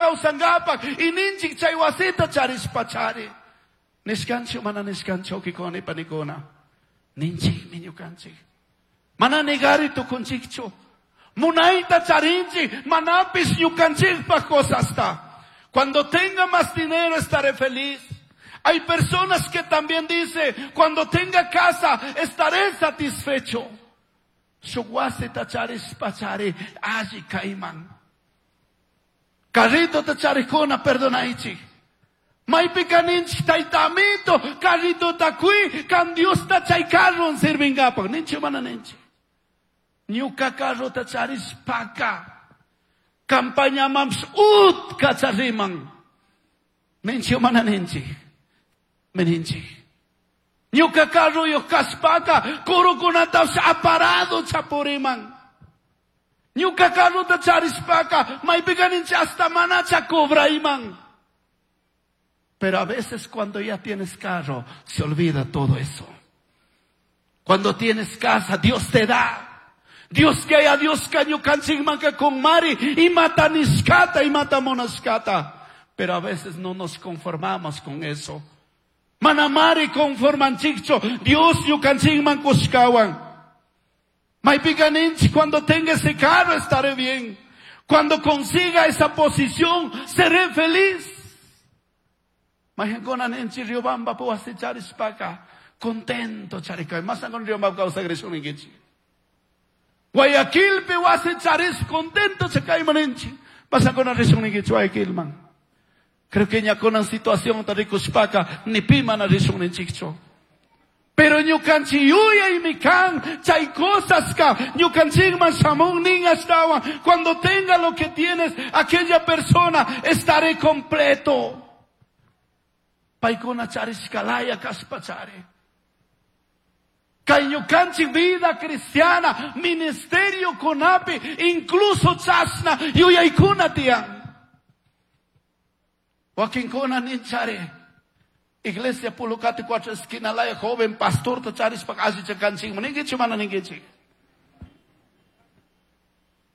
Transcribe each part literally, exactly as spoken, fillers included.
kawsankapak y ninchik chay wasita charishpachari. Nishkanchik mana nishkanchik wawqikuna y panikuna. Ninchikmi ñukanchik. Mana negari tukunchikchu. Munayta charinchik manapis ñukanchikpaj cosasta. Cuando tenga más dinero estaré feliz. Hay personas que también dicen, cuando tenga casa estaré satisfecho. Shuk wasita charishpachari alli kayman. Carrito charikuna perdonaychik. Maypika ninchik tayta amito, carritota quy, kan Diosta chay carron sirvingapak. Ninchik mana ninchik. Ñuka carrota charishpaka. Campañamanpish utka chariman. Ninchik mana ninchik. Ninchik. Ñuka carroyuq kashpaka, kurukunatapish aparado chapuriman. Ñuka carrota charishpaka, maypika ninchik hasta manacha cobrayman. Pero a veces cuando ya tienes carro, se olvida todo eso. Cuando tienes casa, Dios te da. Dios que haya Dios ñukanchikmanka kunmari imata nishkata, imata munashkata. Pero a veces no nos conformamos con eso. Manamari conformanchikchu, Dios ñukanchikman kushkawan. Maypika ninchik, cuando tenga ese carro estaré bien. Cuando consiga esa posición, seré feliz. Mayqankuna ninchik Riobamba wasi charishpaka, contento charikay. Masan Riobamba kawsakrishun ninkichik. Guayaquilpi wasi charish contento chakayman ninchik. Masankuna rishun ninkichik Guayaquilman. Creo que ña kunan situación ta rikushpaka ni pi mana rishun ninchikchu. Pero ñukanchik yuyaymi kan, chay cosas ka, ñukanchikman shamun nin ashtawan. Cuando tenga lo que tienes, aquella persona, estaré completo. Paykuna charishkalaya kashpachari. Kay ñukanchik vida cristiana, ministerio kunapi, incluso chashna yuyaykuna tiyan. Wakinkuna ninchari. Iglesia Pulucate cuatro esquina laya joven pastor ta charishpa allicha kanchikman ninkichik mana ninkichik.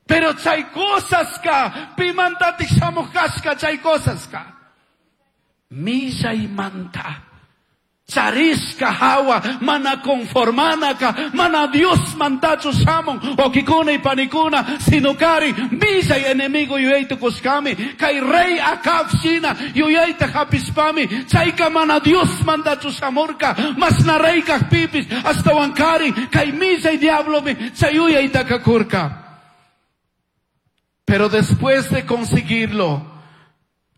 Pero chay cosas ka, pimantatik shamuj kashka chay cosas ka. Millaymanta. Charishka hawa, mana conformanaka, mana Dios mantachu shamun, wawqikuna y panikuna, sino kari, millay enemigo yuyayta kushkami, kay rey Acab shina, yuyayta hapishpami, chayka mana Dios mantachu shamurka, masna rey kajpipis, ashtawan kari, kay millay diablomi, chay yuyayta kakurka. Pero después de conseguirlo,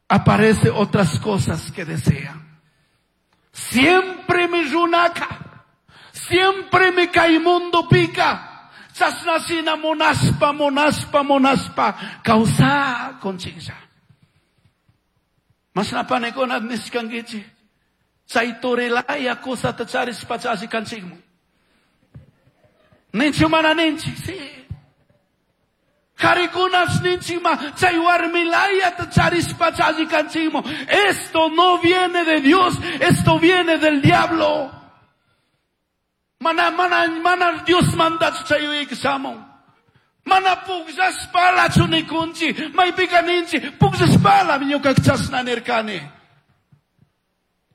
aparece otras cosas que desean. Siempre mi runaka, siempre mi mundo pica. Chasnasina monaspa, monaspa, monaspa, causa conchincha. Masna panikuna nishkankichik. Chay torelaya cosa ta charishpa chashi kanchikmu. Ninchi mana ninchi, sí. Karikunas ninchima, chay warmilaya ta charishpa chashi kanchikmu. Esto no viene de Dios, esto viene del diablo. Mana, mana, mana Dios manda chay uyayki shamun. Mana pukllashpalachu nikunchi, maypika ninchi, pukllashpala ñuka chashna nirkani.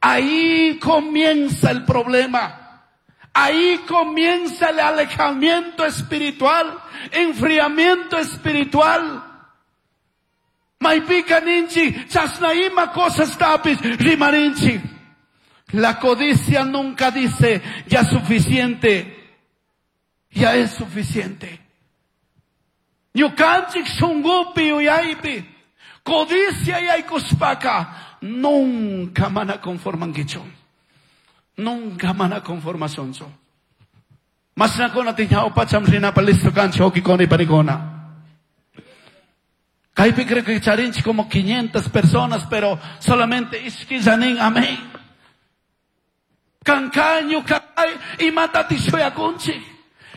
Ahí comienza el problema. Ahí comienza el alejamiento espiritual, enfriamiento espiritual. Maypika ninchi, chashna ima cosas tapis, rimarinchi. La codicia nunca dice, ya suficiente, ya es suficiente. Ñukanchik shungupi yuyaypi, codicia yaykushpaka, nunca mana conformankichu. Nunca mana conformacionchu. Masnakuna tiñawpacham rinapa listo kanchik wawqikuna y panikuna. Kaypi creo que charinchik como quinientas personas, pero solamente ishkillanin, amén. Kankaño kay imatati shuyakunchik.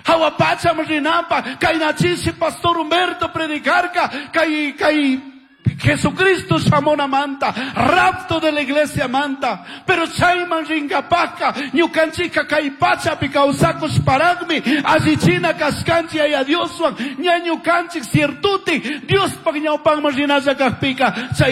Hawapacham rinapa, kaynachishi Pastor Humberto predicarka, kay, kay Jesucristo shamunamanta, rapto de la iglesia manta, pero chayman rinkapaka, ñukanchika kay pachapi kawsakushparaqmi, allichina kashkanchik Yaya Dioswan, ña ñukanchik ciertuti, Diospaq ñawpanman rinalla kajpika, chay